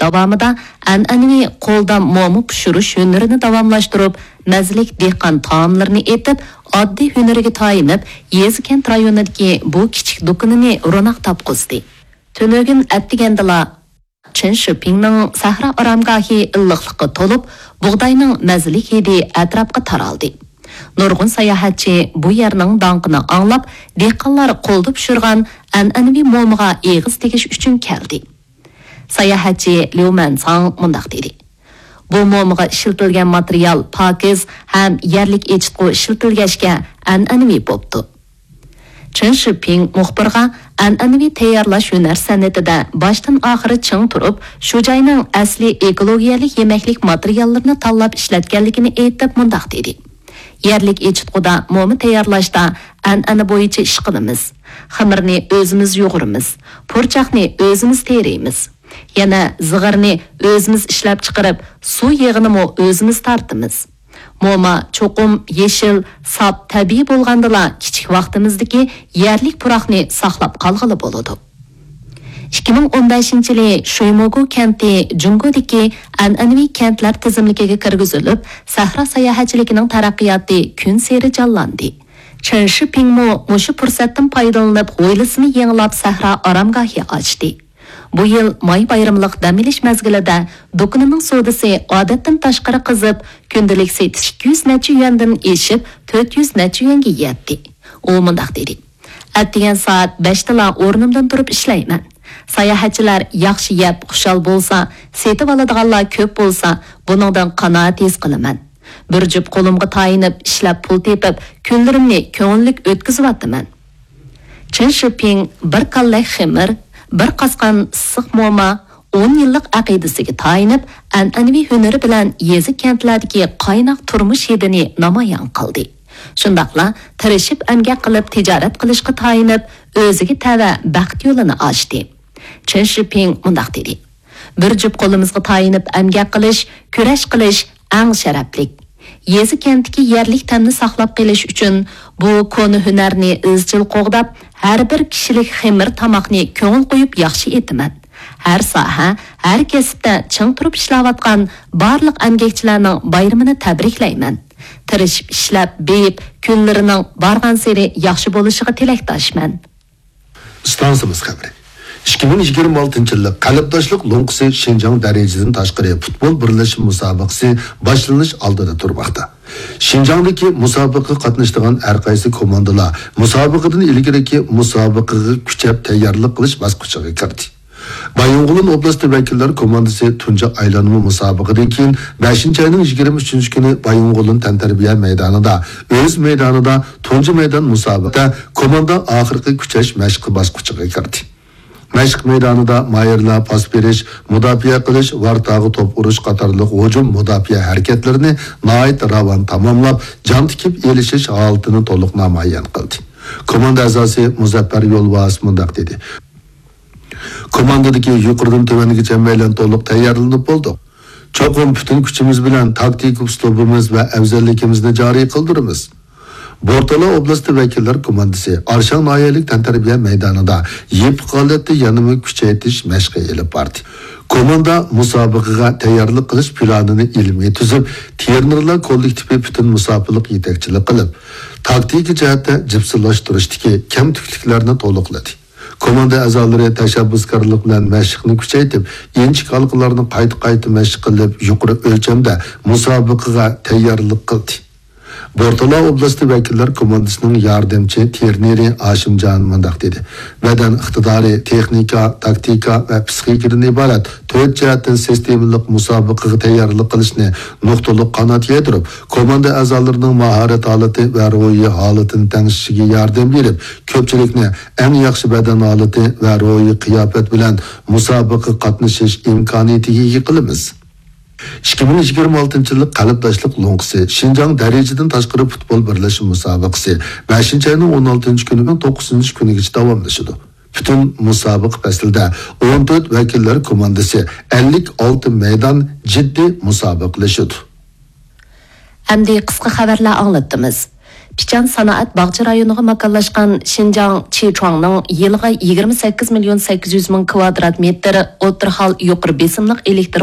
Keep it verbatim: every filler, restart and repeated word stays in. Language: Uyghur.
داۋامىدا ئەنئەنىۋى قولدا موما پىشۇرۇش ھۈنىرىنى داۋاملاشتۇرۇپ، مەززىلىك دېھقان تائاملىرىنى ئېتىپ، ئاددىي ھۈنىرىگە تايىنىپ، يېزا-كەنت رايونىدىكى بۇ كىچىك دۇكىنىنى روناق تاپقۇزدى. تۈنۈگۈن ئەتىگەندىلا چېن شىپىڭنىڭ سەھرا ئارامگاھى ئىللىقلىققا تولۇپ، بۇغداينىڭ مەززىلىك ھىدى ئەتراپقا تارالدى. نۇرغۇن ساياھەتچى بۇ يەرنىڭ داڭقىنى ئاڭلاپ، دېھقانلار قولدا پىشۇرغان ئەنئەنىۋى مومىغا ئېغىز تېگىش ئۈچۈن كەلدى. ساياھەتچى ليۇ مەنساڭ مۇنداق دېدى: بۇ مومىغا ئىشلىتىلگەن ماتېرىيال پاكىز ھەم يەرلىك ئېچىتقۇ ئىشلىتىلگەچكە، ئەنئەنىۋى بوپتۇ. چېن شىپىڭ مۇخبىرغا ئەنئەنىۋى تەييارلاش ھۈنەر سەنئىتىدە باشتىن ئاخىر چىڭ تۇرۇپ، شۇ جاينىڭ ئەسلىي ئېكولوگىيەلىك يېمەكلىك ماتېرىياللىرىنى تاللاپ ئىشلەتكەنلىكىنى ئېيتىپ مۇنداق دېدى: يەرلىك ئېچىتقۇدا موما تەييارلاشتا ئەنئەنە بويىچە ئىش قىلىمىز. خېمىرنى ئۆزىمىز يۇغۇرىمىز، پۇرچاقنى ئۆزىمىز تېرىيمىز. يەنە زىغىرنى ئۆزىمىز ئىشلەپچىقىرىپ، سۇ يېغىنىمۇ ئۆزىمىز تارتىمىز. موما چوقۇم يېشىل، ساپ، تەبىئىي بولغاندىلا، كىچىك ۋاقتىمىزدىكى يەرلىك پۇراقنى ساقلاپ قالغىلى بولىدۇ. ئىككى مىڭ ئون بەشىنچى يىلى شۇيموگۇ كەنتى جۇڭگودىكى ئەنئەنىۋى كەنتلەر تىزىملىكىگە كىرگۈزۈلۈپ، سەھرا ساياھەتچىلىكىنىڭ تەرەققىياتى كۈنسېرى جانلاندى. چېن شىپىڭمۇ مۇشۇ پۇرسەتتىن پايدىلىنىپ، ھويلىسىنى يېڭىلاپ، سەھرا ئارامگاھى ئاچتى. بۇ يىل ماي بايرىملىق دەم ئېلىش مەزگىلىدە دۇكىنىنىڭ سودىسى ئادەتتىن تاشقىرى قىزىپ، كۈندىلىك سېتىش ئىككى يۈز نەچچە يۈەندىن ئېشىپ، تۆت يۈز نەچچە يۈەنگە يەتتى. ئۇ مۇنداق دېدى: ئەتىگەن سائەت بەشتىلا ئورنۇمدىن تۇرۇپ ئىشلەيمەن. ساياھەتچىلەر ياخشى يەپ خۇشال بولسا، سېتىۋالىدىغانلار كۆپ بولسا، بۇنىڭدىن قانائەت ھېس قىلىمەن. بىر جۈپ قولۇمغا تايىنىپ ئىشلەپ پۇل تېپىپ، كۈنلىرىمنى كۆڭۈللۈك ئۆتكۈزۈۋاتىمەن. چېن شىپىڭ بىر كاللەك خېمىر، بىر قاسقان ئىسسىق موما، ئون يىللىق ئەقىدىسىگە تايىنىپ، ئەنئەنىۋى ھۈنىرى بىلەن يېزا-كەنتلەردىكى قايناق تۇرمۇش ھىدىنى نامايان قىلدى. شۇنداقلا تىرىشىپ ئەمگەك قىلىپ تىجارەت قىلىشقا تايىنىپ، ئۆزىگە تەۋە بەخت يولىنى ئاچتى. چېن شىپىڭ مۇنداق دېدى: بىر جۈپ قولىمىزغا تايىنىپ ئەمگەك قىلىش، كۈرەش قىلىش ئەڭ شەرەپلىك. يېزا-كەنتتىكى يەرلىك تەمنى ساقلاپ قېلىش ئۈچۈن بۇ كونا ھۈنەرنى ئىزچىل قوغداپ، ھەر بىر كىشىلىك خېمىر تاماقنى كۆڭۈل قويۇپ ياخشى ئېتىمەن. ھەر ساھە، ھەر كەسىپتە چىڭ تۇرۇپ ئىشلەۋاتقان بارلىق ئەمگەكچىلەرنىڭ بايرىمىنى تەبرىكلەيمەن. تىرىشىپ ئىشلەپ، بېيىپ، كۈنلىرىنىڭ بارغانسېرى ياخشى بولۇشىغا تىلەكداشمەن. ئىستانسىمىز خەۋىرى. ئىككى مىڭ يىگىرمە ئالتىنچى يىللىق قەلبداشلىق لوڭقىسى شىنجاڭ دەرىجىدىن تاشقىرى پۇتبول بىرلەشمە مۇسابىقىسى باشلىنىش ئالدىدا تۇرماقتا. شىنجاڭدىكى مۇسابىقىگە قاتنىشىدىغان ھەر قايسى كوماندىلار مۇسابىقىدىن ئىلگىرىكى مۇسابىقىگە كۈچەپ تەييارلىق قىلىش باسقۇچىغا كىردى. بايىنغولىن ئوبلاستى ۋەكىللەر كوماندىسى تۇنجى ئايلانما مۇسابىقىدىن كېيىن بەشىنچى ئاينىڭ يىگىرمە ئۈچىنچى كۈنى بايىنغولىن تەنتەربىيە مەيدانىدا ئۆز مەيدانىدا تۇنجى مەيدان مۇسابىقىدە كوماندا ئاخىرقى كۈچەش مەشقى باسقۇچىغا كىردى. مەشىق مەيدانىدا ماھىرلار پاس بېرىش، مۇداپىئە قىلىش، ۋارتاغا توپ ئۇرۇش قاتارلىق ھۇجۇم، مۇداپىئە ھەرىكەتلىرىنى ناھايىتى راۋان تاماملاپ، جان تىكىپ ئېلىشىش ھالىتىنى تولۇق نامايان قىلدى. كوماندا ئەزاسى مۇزەپپەر يولۋاس مۇنداق دېدى: كوماندىدىكى يۇقىرىدىن تۆۋەنگىچە مەيلەن تولۇق تەييارلىنىپ بولدۇق. چوقۇم پۈتۈن كۈچىمىز بىلەن تاكتىكا ئۇسلۇبىمىز ۋە ئەۋزەللىكىمىزنى جارى قىلدۇرىمىز. بورتالا ئوبلاستى ۋەكىللەر كوماندىسى ئارشاڭ ناھىيەلىك تەنتەربىيە مەيدانىدا يېپىق ھالەتتە يەنىمۇ كۈچەيتىش مەشقى ئېلىپ باردى. كوماندا مۇسابىقىگە تەييارلىق قىلىش پىلانىنى ئىلمىي تۈزۈپ، ترېنېرلار كوللېكتىپى پۈتۈن مۇساپىلىق يېتەكچىلىك قىلىپ، تاكتىكا جەھەتتە جىپسىلاشتۇرۇشتىكى كەمتۈكلۈكلەرنى تولۇقلىدى. كوماندا ئەزالىرى تەشەببۇسكارلىق بىلەن مەشىقنى كۈچەيتىپ، ئىنچىكە ھالقىلارنى قايتا-قايتا مەشىق قىلىپ، يۇقىرى ئۆلچەمدە مۇسابىقىگە تەييارلىق قىلدى. بورتالا ئوبلاستى ۋەكىللەر كوماندىسىنىڭ ياردەمچى ترېنېرى ئاشىمجان مۇنداق دېدى: بەدەن ئىقتىدارى، تېخنىكا، تاكتىكا ۋە پىسخىكىدىن ئىبارەت تۆت جەھەتتىن سىستېمىلىق مۇسابىقىگە تەييارلىق قىلىشنى نۇقتىلىق قانات يايدۇرۇپ، كوماندا ئەزالىرىنىڭ ماھارەت ھالىتى ۋە روھىي ھالىتىنى تەڭشىشىگە ياردەم بېرىپ، كۆپچىلىكنى ئەڭ ياخشى بەدەن ھالىتى ۋە روھىي قىياپەت بىلەن مۇسابىقىگە قاتنىشىش ئىمكانىيىتىگە ئىگە قىلىمىز. ئىككى مىڭ يىگىرمە ئالتىنچى يىللىق قەلبداشلىق لوڭقىسى شىنجاڭ دەرىجىدىن تاشقىرى پۇتبول بىرلەشمە مۇسابىقىسى بەشىنچى ئاينىڭ ئون ئالتىنچى كۈنى بىلەن توققۇزىنچى كۈنىگىچە داۋاملىشىدۇ. پۈتۈن مۇسابىقە پەسلىدە ئون تۆت ۋەكىللەر كوماندىسى، ئەللىك ئالتە مەيدان جىددىي مۇسابىقىلىشىدۇ. ئەمدى قىسقا خەۋەرلەر ئاڭلىتىمىز. پىچان سانائەت باغچە رايونىغا ماكانلاشقان شىنجاڭ چىچۇاڭنىڭ يىلىغا يىگىرمە سەككىز مىليون سەككىز يۈز مىڭ كۋادرات مېتىر ئوتتۇرا ھال يۇقىرى بېسىملىق ئېلېكتر